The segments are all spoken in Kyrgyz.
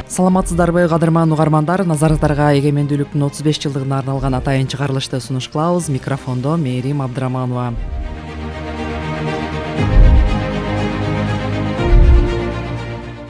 Саламатсыздарбы, кадырман угармандар? Назарыңыздарга эгемендүүлүктүн 35 жылдыгына арналган атайын чыгарылышты сунуш кылабыз. Микрофондо Мээрим Абдыраманова.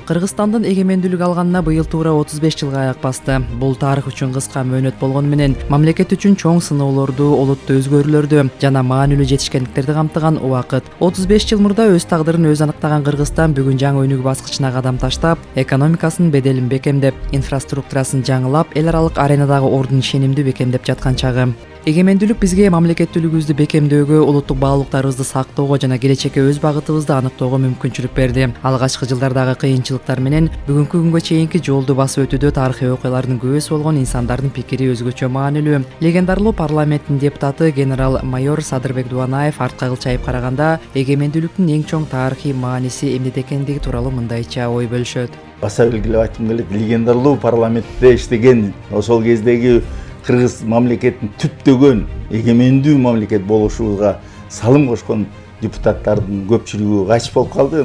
Кыргызстандын эгемендүүлүк алганына быйыл туура 35 жылга аяк басты. Бул тарых үчүн кыска мөөнөт болгону менен мамлекет үчүн чоң сыноолорду, олуттуу өзгөрүүлөрдү жана маанилүү жетишкендиктерди камтыган убакыт. 35 жыл мурда өз тагдырын өзү аныктаган Кыргызстан бүгүн жаңы өнүгүү баскычына кадам таштап, экономикасынын беделин бекемдеп, инфраструктурасын жаңылап, эл аралык аренадагы ордун ишенимдүү бекемдеп жаткан чагы. Эгемендүүлүк бизге мамлекеттүүлүгүбүздү бекемдөөгө, улуттук баалуулуктарыбызды сактоого жана келечекке өз багытыбызды аныктоого мүмкүнчүлүк берди. Алгачкы жылдардагы кыйынчылыктар менен бүгүнкү күнгө чейинки жолду басып өтүүдө тарыхый окуялардын күбөсү болгон инсандардын пикири өзгөчө маанилүү. Легендарлуу парламенттин депутаты генерал-майор Садырбек Дубанаев артка кылчайып караганда эгемендүүлүктүн эң чоң тарыхый мааниси эмнеде экендиги тууралуу мындайча ой бөлүшөт. Баса белгилеп айткым келет, легендарлуу парламентте иштеген ошол кездеги кыргыз мамлекетин түптөгөн эгемендүү мамлекет болушубузга салым кошкон депутаттардын көпчүлүгү кайтыш болуп калды.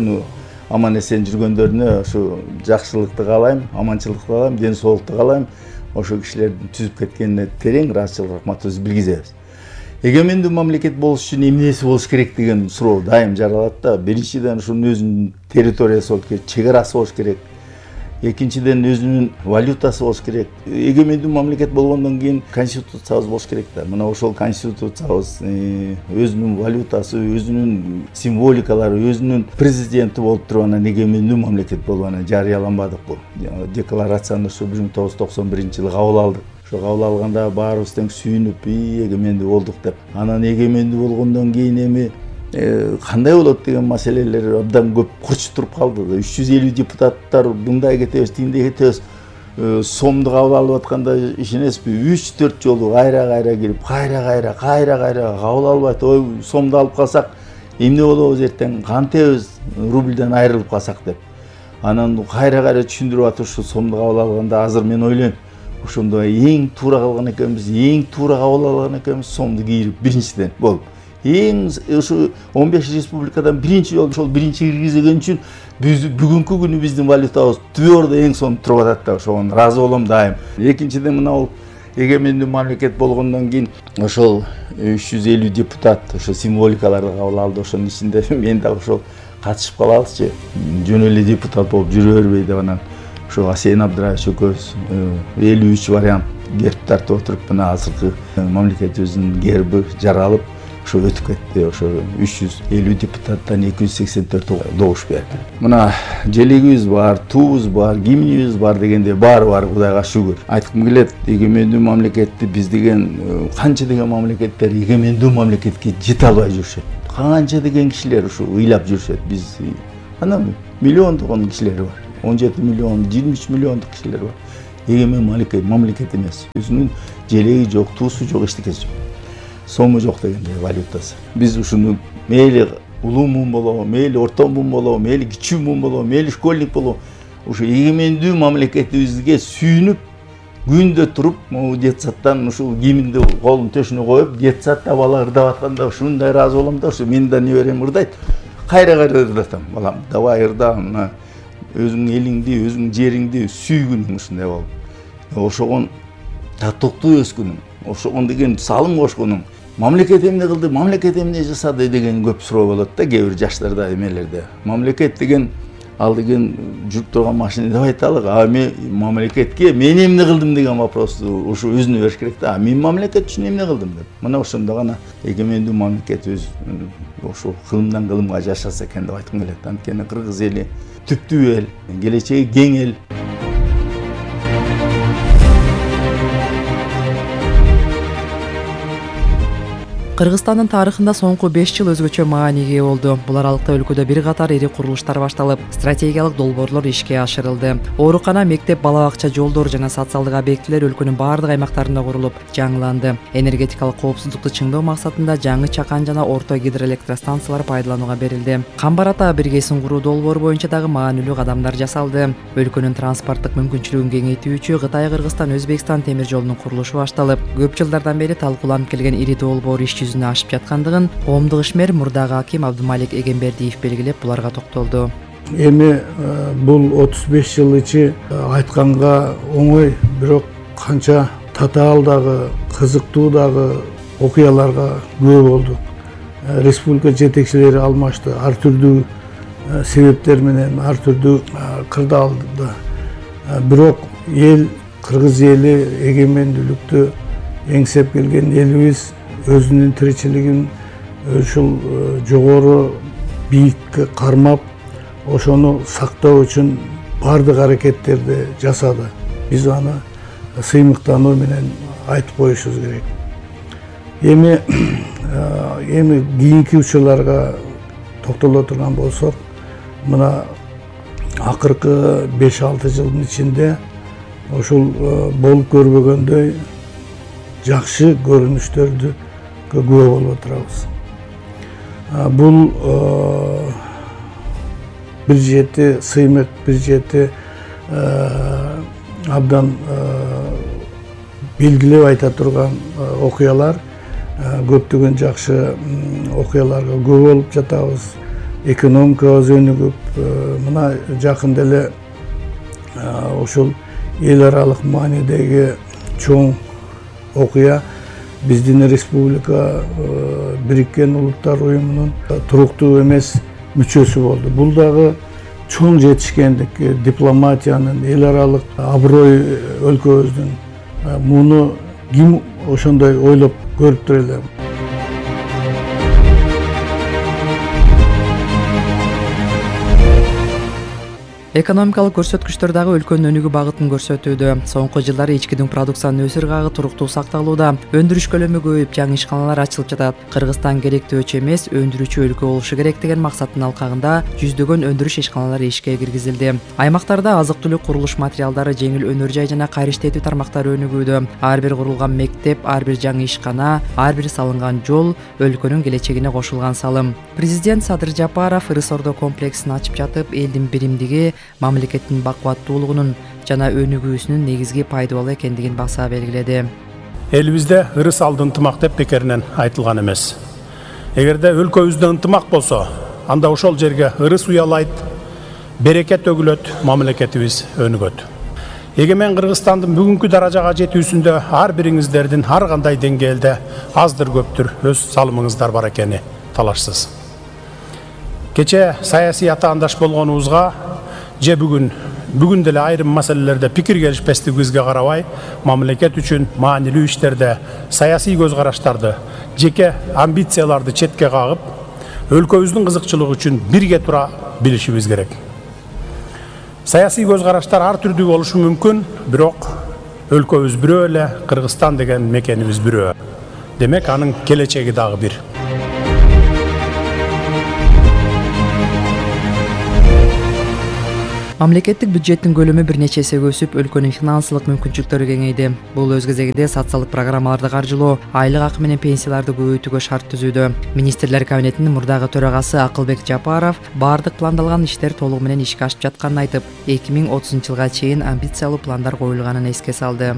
Аман эсен жүргөндөрүнө ушу жакшылыкты каалайм, аманчылыкты каалайм, ден соолукту каалайм. Ошол кишилердин түзүп кеткенине терең ыраазычылык рахматыбызды билгизебиз. Эгемендүү мамлекет болуш үчүн эмнеси болуш керек деген суроо дайым жаралат да. Биринчиден ушунун өзүнүн территориясы болуш керек, чек арасы болуш керек. Экинчиден өзүнүн валютасы болуш керек. Эгемендүү мамлекет болгондон кийин конституциябыз болуш керек да. Мына ошол конституциябыз өзүнүн валютасы, өзүнүн символикалары, өзүнүн президенти болуп туруп анан эгемендүү мамлекет болуп анан жарыяланбадыкпы. Декларацияны ушу 1991-жылы кабыл алдык. Ошо кабыл алганда баарыбыз тең сүйүнүп, эгемендүү болдук деп. Анан эгемендүү болгондон кийин эми кандай болот деген маселелер абдан көп курчуп туруп калды. 350 депутаттар мындай кетебиз, тиндей кетебиз. Сомду кабыл алып атканда ишенесизби? 3-4 жолу кайра кирип, кайра кабыл албайт. Ой, сомду алып калсак эмне болобуз эртең? Кантебиз рубльден айрылып калсак деп. Анан кайра түшүндүрүп атып ушу сомду кабыл алганда азыр мен ойлойм, ошондо эң туура кылган экенбиз, эң туура кабыл алган экенбиз сомду кийирип биринчиден болуп. Эң ушу 15 республикадан биринчи жолу ошол биринчи киргизген үчүн биз бүгүнкү күнү биздин валютабыз түбөрдө эң сонун туруп атат да, ошого ыраазы болом дайым. Экинчиден мына бул эгемендүү мамлекет болгондон кийин ошол 350 депутат ошо символикаларды кабыл алды. Ошонун ичинде мен дагы ошол катышып калабызчы, жөн эле депутат болуп жүрө бербей деп анан ошо Асен Абдыраевич экөөбүз 53 вариант герб тартып отуруп мына азыркы мамлекетибиздин герби жаралып ошо өтүп кетти. Ошо 350 депутаттан 284 добуш берди. Мына желегибиз бар, туубуз бар, гимнибиз бар дегенде баары бар, Кудайга шүгүр. Айткым келет, эгемендүү мамлекетти биз деген канча деген мамлекеттер эгемендүү мамлекетке жете албай жүрүшөт. Канча деген кишилер ушу ыйлап жүрүшөт. Биз анан миллиондогон кишилер бар. 17 миллион, 23 миллиондук кишилер бар. Эгемен мамлекет эмес. Өзүнүн желеги жок, туусу жок, эчтекеси жок. Сому жок дегенде валютасы. Биз ушуну мейли улуу муун болобу, мейли орто муун болобу, мейли кичүү муун болобу, мейли школьник болобу, ушу эгемендүү мамлекетибизге сүйүнүп, күндө туруп, могу детсадтан ушул кийиминди колун төшүнө коюп, детсадда бала ырдап атканда ушундай ыраазы болом да, ушу мен да неберем ырдайт. Кайра ырдатам. Балам, давай ырда, мына өзүңдүн элиңди, өзүңдүн жериңди сүйгүнүң ушундай болуп. Ошогон татыктуу өскүнүң, ошогон деген салым кошконуң. Мамлекет эмне кылды, мамлекет эмне жасады деген көп суроо болот да кээ бир жаштарда, эмелерде. Мамлекет деген ал деген жүрүп турган машина деп айталык. Мен мамлекетке мен эмне кылдым деген вопросту ушу өзүнө бериш керек да. Мен мамлекет үчүн эмне кылдым деп. Мына ошондо гана эгемендүү мамлекет өз ошо кылымдан кылымга жашаса экен деп айткым келет. Анткени кыргыз эли түптүү эл, келечеги кең эл. Кыргызстандын тарыхында соңку 5 жыл өзгөчө мааниге ээ болду. Бул аралыкта өлкөдө бир катар ири курулуштар башталып, стратегиялык долбоорлор ишке ашырылды. Оорукана, мектеп, бала бакча, жолдор жана социалдык объектилер өлкөнүн бардык аймактарында курулуп, жаңыланды. Энергетикалык коопсуздукту чыңдоо максатында жаңы чакан жана орто гидроэлектростанциялар пайдаланууга берилди. Камбар ата биргесин куруу долбоору боюнча дагы маанилүү кадамдар жасалды. Өлкөнүн транспорттук мүмкүнчүлүгүн кеңейтүүчү Кытай-Кыргызстан, Өзбекстан темир жолунун курулушу башталып, көп жылдардан бери талкууланып келген ири долбоор иш жүзүнө ашып жаткандыгын коомдук ишмер мурдагы аким Абдымалик Эгембердиев белгилеп, буларга токтолду. Эми бул 35 жыл ичи айтканга оңой, бирок канча татаал дагы, кызыктуу дагы окуяларга күбө болдук. Республика жетекчилери алмашты, ар түрдүү себептер менен, ар түрдүү кырдаалда. Бирок эл, кыргыз эли эгемендүүлүктү эңсеп келген элибиз өзүнүн тиричилигин ушул жогору бийикке кармап, ошону сактоо үчүн бардык аракеттерди жасады. Биз аны сыймыктануу менен айтып коюшубуз керек. Эми кийинки учурларга токтоло турган болсок, мына акыркы 5-6 жылдын ичинде ушул болуп көрбөгөндөй жакшы көрүнүштөрдү күбө болуп отурабыз. Бул бир жети сыймык, бир жети абдан белгилеп айта турган окуялар, көптөгөн жакшы окуяларга күбө болуп жатабыз. Экономикабыз өнүгүп, мына жакында эле ушул эл аралык маанидеги чоң окуя биздин республика Бириккен Улуттар уюмунун туруктуу эмес мүчөсү болду. Бул дагы чоң жетишкендик, дипломатиянын, эл аралык аброй өлкөбүздүн. Муну ким ошондой ойлоп көрүптүр эле. Экономикалык көрсөткүчтөр дагы өлкөнүн өнүгүү багытын көрсөтүүдө. Соңку жылдары ичкидин продукциянын өсүр агы туруктуу сакталууда. Өндүрүш көлөмү көбөйүп, жаңы ишканалар ачылып жатат. Кыргызстан керектөөчү эмес, өндүрүүчү өлкө болушу керек деген максаттын алкагында жүздөгөн өндүрүш ишканалары ишке киргизилди. Аймактарда азык-түлүк, курулуш материалдары, жеңил өнөр жай жана кайра иштетүү тармактары өнүгүүдө. Ар бир курулган мектеп, ар бир жаңы ишкана, ар бир салынган жол өлкөнүн келечегине кошулган салым. Президент Садыр Жапаров Ырыс-Ордо комплексин ачып жатып, элдин биримдиги, мамлекеттин бакубаттуулугунун жана өнүгүүсүнүн негизги пайдалуу экендигин баса белгиледи. Элибизде ырыс алды ынтымак деп бекеринен айтылган эмес. Эгерде өлкөбүздө ынтымак болсо, анда ошол жерге ырыс уялайт, берекет төгүлөт, мамлекетибиз өнүгөт. Эгемен Кыргызстандын бүгүнкү даражага жетүүсүндө ар бириңиздердин ар кандай деңгээлде аздыр көптүр өз салымыңыздар бар экени талашсыз. Кече саясий атаандаш болгонубузга же бүгүн деле айрым маселелерде пикир келишпестигибизге карабай, мамлекет үчүн маанилүү иштерде саясий көз караштарды, жеке амбицияларды четке кагып, өлкөбүздүн кызыкчылыгы үчүн бирге тура билишибиз керек. Саясий көз караштар ар түрдүү болушу мүмкүн, бирок өлкөбүз бирөө эле, Кыргызстан деген мекенибиз бирөө. Демек, анын келечеги дагы бир. Мамлекеттик бюджеттин көлөмү бир нече эсе өсүп, өлкөнүн финансылык мүмкүнчүлүктөрү кеңейди. Бул өз кезегинде социалдык программаларды каржылоо, айлык акы менен пенсияларды көбөйтүүгө шарт түзүүдө. Министрлер кабинетинин мурдагы төрагасы Акылбек Жапаров бардык пландалган иштер толугу менен ишке ашып жатканын айтып, 2030 жылга чейин амбициялуу пландар коюлганын эске салды.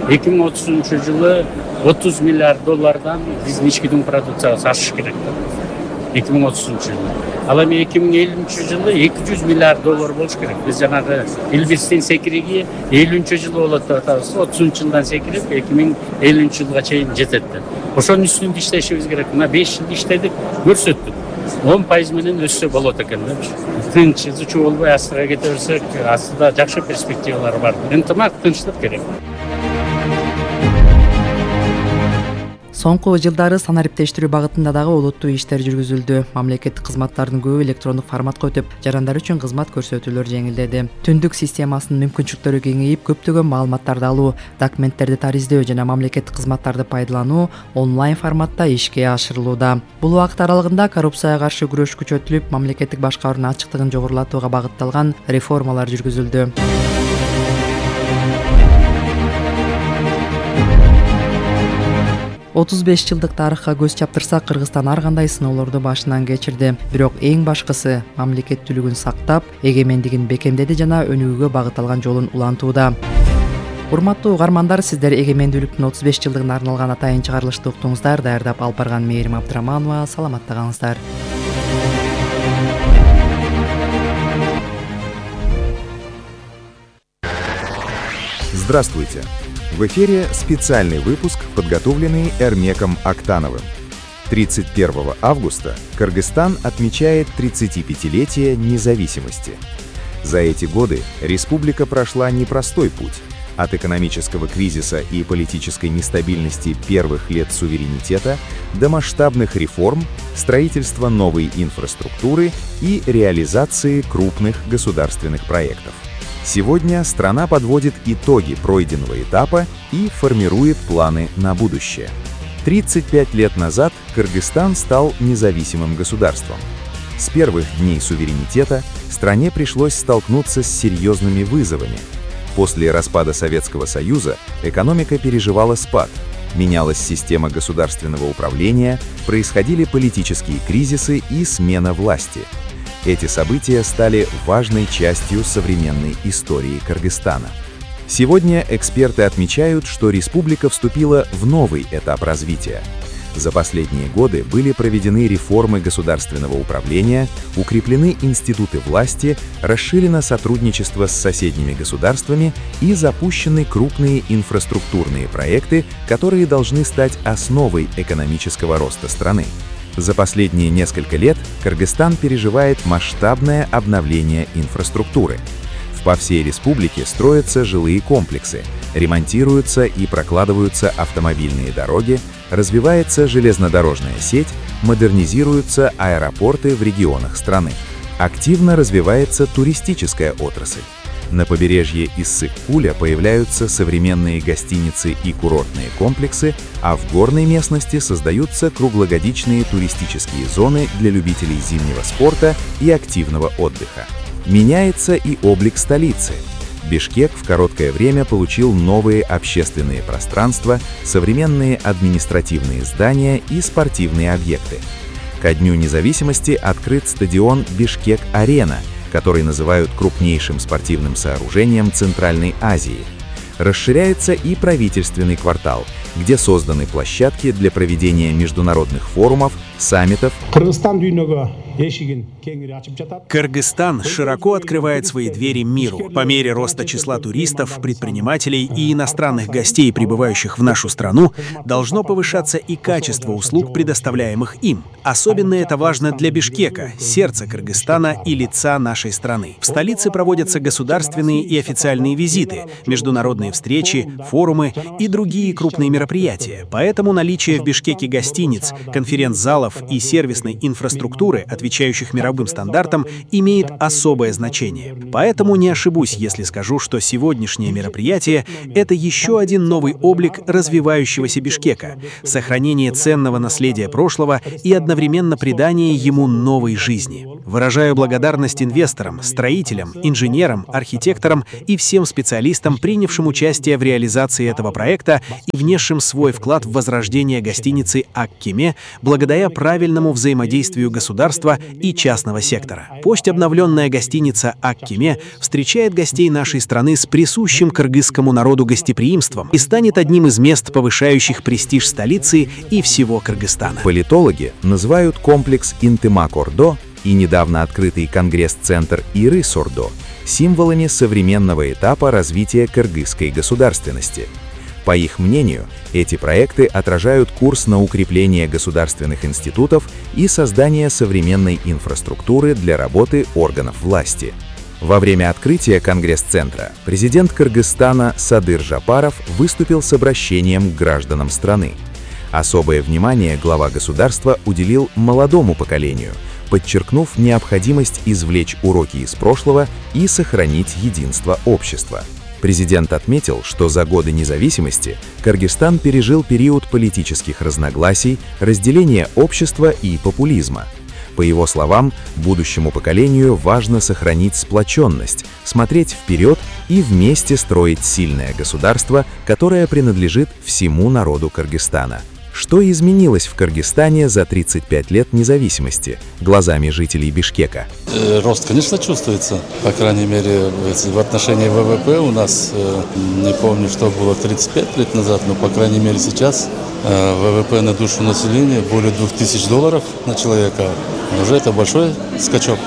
2030 жылы 30 миллиард доллардан биздин ичкидин продукциябыз ашыш керек. 2030 жылы. Ал эми 2050 жылы 200 миллиард доллар болуш керек. Биз жанагы Элбистин секириги 50 жылы болот деп атабыз. 30 жылдан секирип 2050 жылга чейин жетет деп. Ошонун үстүндө иштешибиз керек. Мына 5 жыл иштедик, көрсөттүк. 10% менен өссө болот экен деп. Тынч, ызычуу болбой астыга кете берсек, астыда жакшы перспективалар бар. Ынтымак, тынчтык керек. Соңку жылдары санариптештирүү багытында дагы олуттуу иштер жүргүзүлдү. Мамлекеттик кызматтардын көбү электрондук форматка өтүп, жарандар үчүн кызмат көрсөтүүлөр жеңилдеди. Түндүк системасынын мүмкүнчүлүктөрү кеңейип, көптөгөн маалыматтарды алуу, документтерди тариздөө жана мамлекеттик кызматтарды пайдалануу онлайн форматта ишке ашырылууда. Бул убакыт аралыгында коррупцияга каршы күрөш күчөтүлүп, мамлекеттик башкаруунун ачыктыгын жогорулатууга багытталган реформалар жүргүзүлдү. 35 жылдык тарыхка көз чаптырсак, Кыргызстан ар кандай сыноолорду башынан кечирди. Бирок эң башкысы мамлекеттүүлүгүн сактап, эгемендигин бекемдеди жана өнүгүүгө багытталган жолун улантууда. Урматтуу угармандар, сиздер эгемендүүлүктүн 35 жылдыгына арналган атайын чыгарылышты уктуңуздар. Даярдап алып барган Мээрим Абдыраманова. Саламатта калыңыздар. Здравствуйте! В эфире специальный выпуск, подготовленный Эрмеком Актановым. 31 августа Кыргызстан отмечает 35-летие независимости. За эти годы республика прошла непростой путь. От экономического кризиса и политической нестабильности первых лет суверенитета до масштабных реформ, строительства новой инфраструктуры и реализации крупных государственных проектов. Сегодня страна подводит итоги пройденного этапа и формирует планы на будущее. 35 лет назад Кыргызстан стал независимым государством. С первых дней суверенитета стране пришлось столкнуться с серьезными вызовами. После распада Советского Союза экономика переживала спад, менялась система государственного управления, происходили политические кризисы и смена власти. Эти события стали важной частью современной истории Кыргызстана. Сегодня эксперты отмечают, что республика вступила в новый этап развития. За последние годы были проведены реформы государственного управления, укреплены институты власти, расширено сотрудничество с соседними государствами и запущены крупные инфраструктурные проекты, которые должны стать основой экономического роста страны. За последние несколько лет Кыргызстан переживает масштабное обновление инфраструктуры. По всей республике строятся жилые комплексы, ремонтируются и прокладываются автомобильные дороги, развивается железнодорожная сеть, модернизируются аэропорты в регионах страны. Активно развивается туристическая отрасль. На побережье Иссык-Куля появляются современные гостиницы и курортные комплексы, а в горной местности создаются круглогодичные туристические зоны для любителей зимнего спорта и активного отдыха. Меняется и облик столицы. Бишкек в короткое время получил новые общественные пространства, современные административные здания и спортивные объекты. Ко Дню независимости открыт стадион «Бишкек-Арена», который называют крупнейшим спортивным сооружением Центральной Азии. Расширяется и правительственный квартал, где созданы площадки для проведения международных форумов, саммитов. Кыргызстан широко открывает свои двери миру. По мере роста числа туристов, предпринимателей и иностранных гостей, прибывающих в нашу страну, должно повышаться и качество услуг, предоставляемых им. Особенно это важно для Бишкека, сердца Кыргызстана и лица нашей страны. В столице проводятся государственные и официальные визиты, международные встречи, форумы и другие крупные мероприятия. Поэтому наличие в Бишкеке гостиниц, конференц-залов и сервисной инфраструктуры, отвечающих мировым стандартам, имеет особое значение. Поэтому не ошибусь, если скажу, что сегодняшнее мероприятие — это еще один новый облик развивающегося Бишкека, сохранение ценного наследия прошлого и одновременно придание ему новой жизни. Выражаю благодарность инвесторам, строителям, инженерам, архитекторам и всем специалистам, принявшим участие в реализации этого проекта и внесшим свой вклад в возрождение гостиницы «Ак-Кеме» благодаря правильному взаимодействию государства и частного сектора. Пусть обновленная гостиница «Ак-Кеме» встречает гостей нашей страны с присущим кыргызскому народу гостеприимством и станет одним из мест, повышающих престиж столицы и всего Кыргызстана. Политологи называют комплекс Интымак-Ордо и недавно открытый конгресс-центр Ирыс-Ордо символами современного этапа развития кыргызской государственности. По их мнению, эти проекты отражают курс на укрепление государственных институтов и создание современной инфраструктуры для работы органов власти. Во время открытия Конгресс-центра президент Кыргызстана Садыр Жапаров выступил с обращением к гражданам страны. Особое внимание глава государства уделил молодому поколению, подчеркнув необходимость извлечь уроки из прошлого и сохранить единство общества. Президент отметил, что за годы независимости Кыргызстан пережил период политических разногласий, разделения общества и популизма. По его словам, будущему поколению важно сохранить сплоченность, смотреть вперед и вместе строить сильное государство, которое принадлежит всему народу Кыргызстана. Что изменилось в Кыргызстане за 35 лет независимости глазами жителей Бишкека? Рост, конечно, чувствуется. По крайней мере, в отношении ВВП у нас, не помню, что было 35 лет назад, но, по крайней мере, сейчас ВВП на душу населения более $2000 на человека. Уже это большой скачок.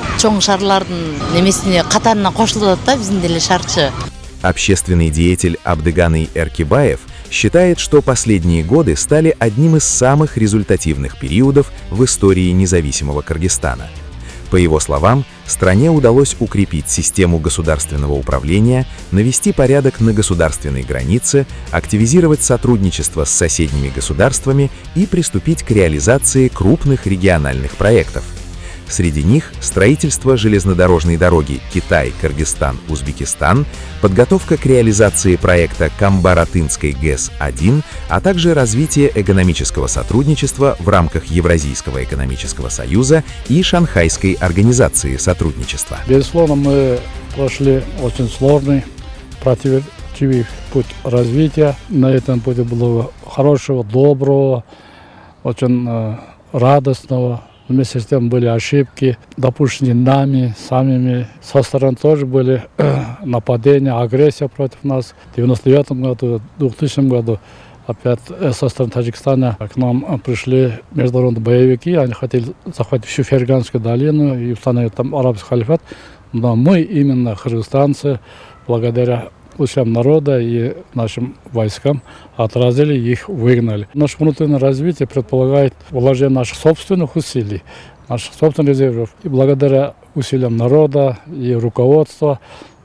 общественный деятель Абдыганый Эркибаев считает, что последние годы стали одним из самых результативных периодов в истории независимого Кыргызстана. По его словам, стране удалось укрепить систему государственного управления, навести порядок на государственной границе, активизировать сотрудничество с соседними государствами и приступить к реализации крупных региональных проектов. Среди них строительство железнодорожной дороги Китай-Кыргызстан-Узбекистан, подготовка к реализации проекта Камбар-Атынской ГЭС-1, а также развитие экономического сотрудничества в рамках Евразийского экономического союза и Шанхайской организации сотрудничества. Безусловно, мы прошли очень сложный, противоречивый путь развития. На этом пути было хорошего, доброго, очень радостного. Вместе с тем были ошибки, допущенные нами, самими. Со стороны тоже были нападения, агрессия против нас. В 1999 году, в 2000 году опять со стороны Таджикистана к нам пришли международные боевики. Они хотели захватить всю Ферганскую долину и установить там арабский халифат. Но мы, именно кыргызстанцы, благодаря усилиям народа и нашим войскам отразили, их выгнали. Наше внутреннее развитие предполагает вложение наших собственных усилий, наших собственных резервов. И благодаря усилиям народа и руководства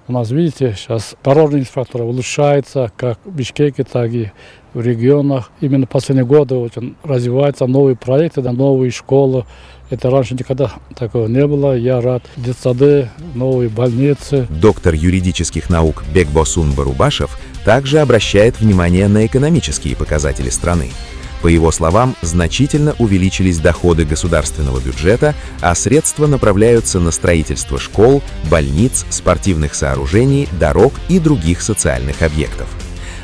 у нас, видите, сейчас дорожная инфраструктура улучшается как в Бишкеке, так и в регионах. Именно в последние годы очень развиваются новые проекты, новые школы. Это раньше никогда такого не было. Я рад. Детсады, новые больницы. Доктор юридических наук Бекбосун Барубашев также обращает внимание на экономические показатели страны. По его словам, значительно увеличились доходы государственного бюджета, а средства направляются на строительство школ, больниц, спортивных сооружений, дорог и других социальных объектов.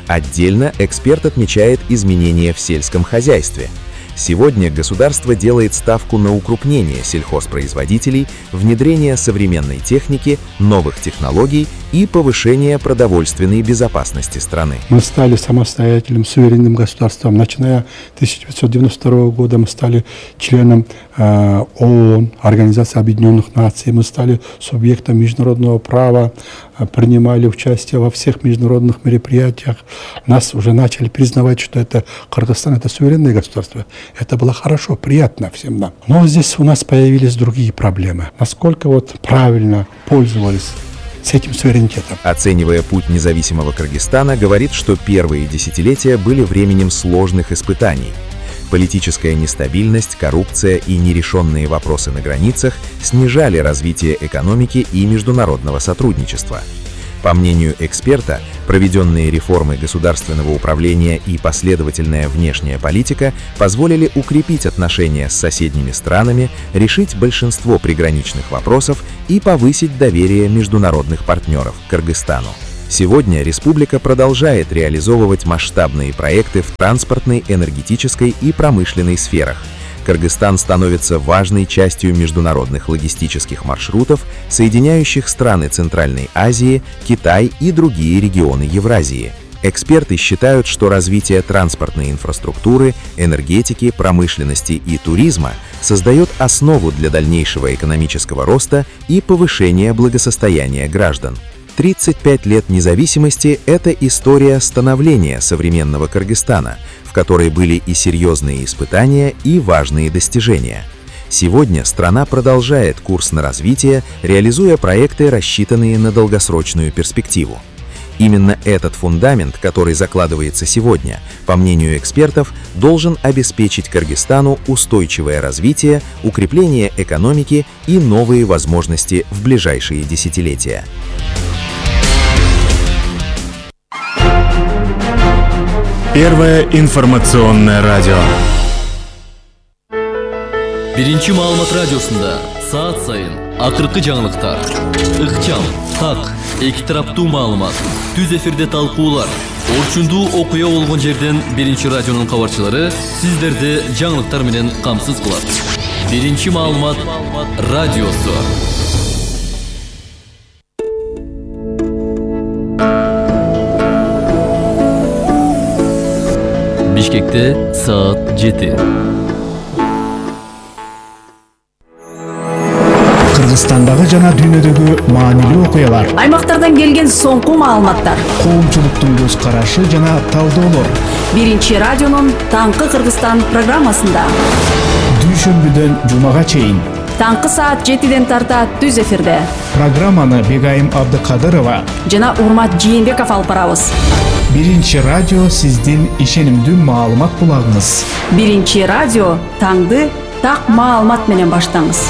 Отдельно эксперт отмечает изменения в сельском хозяйстве. Сегодня государство делает ставку на укрупнение сельхозпроизводителей, внедрение современной техники, новых технологий и повышение продовольственной безопасности страны. Мы стали самостоятельным, суверенным государством. Начиная с 1992 года мы стали членом ООН, Организации Объединенных Наций. Мы стали субъектом международного права, принимали участие во всех международных мероприятиях. Нас уже начали признавать, что Кыргызстан — это суверенное государство. Это было хорошо, приятно всем нам. Но здесь у нас появились другие проблемы. Насколько правильно пользовались с этим суверенитетом. Оценивая путь независимого Кыргызстана, говорит, что первые десятилетия были временем сложных испытаний. Политическая нестабильность, коррупция и нерешенные вопросы на границах снижали развитие экономики и международного сотрудничества. По мнению эксперта, проведенные реформы государственного управления и последовательная внешняя политика позволили укрепить отношения с соседними странами, решить большинство приграничных вопросов и повысить доверие международных партнеров к Кыргызстану. Сегодня республика продолжает реализовывать масштабные проекты в транспортной, энергетической и промышленной сферах. Кыргызстан становится важной частью международных логистических маршрутов, соединяющих страны Центральной Азии, Китай и другие регионы Евразии. Эксперты считают, что развитие транспортной инфраструктуры, энергетики, промышленности и туризма создает основу для дальнейшего экономического роста и повышения благосостояния граждан. 35 лет независимости – это история становления современного Кыргызстана, в которой были и серьезные испытания, и важные достижения. Сегодня страна продолжает курс на развитие, реализуя проекты, рассчитанные на долгосрочную перспективу. Именно этот фундамент, который закладывается сегодня, по мнению экспертов, должен обеспечить Кыргызстану устойчивое развитие, укрепление экономики и новые возможности в ближайшие десятилетия. Первое информационное радио. Биринчи маалымат радиосунда саат сайын акыркы жаңылыктар, ыкчам, так, эки тараптуу маалымат, түз эфирде талкуулар, орчундуу окуя болгон жерден биринчи радионун кабарчылары сиздерди жаңылыктар менен камсыз кылат. Биринчи маалымат радиосу. Бишкекте саат 7. Кыргызстандагы жана дүйнөдөгү маанилүү окуялар, аймактардан келген соңку маалыматтар, коомчулуктун көз карашы жана талдоолор. Биринчи радионун Таңкы Кыргызстан программасында дүйшөмбүдөн жумага чейин таңкы саат 7-ден тарта түз эфирде программаны Бегайым Абдыкадырова жана Урмат Жээнбеков алып барабыз. Биринчи радио сиздин ишенимдүү маалымат булагыңыз. Биринчи радио таңды так маалымат менен баштаңыз.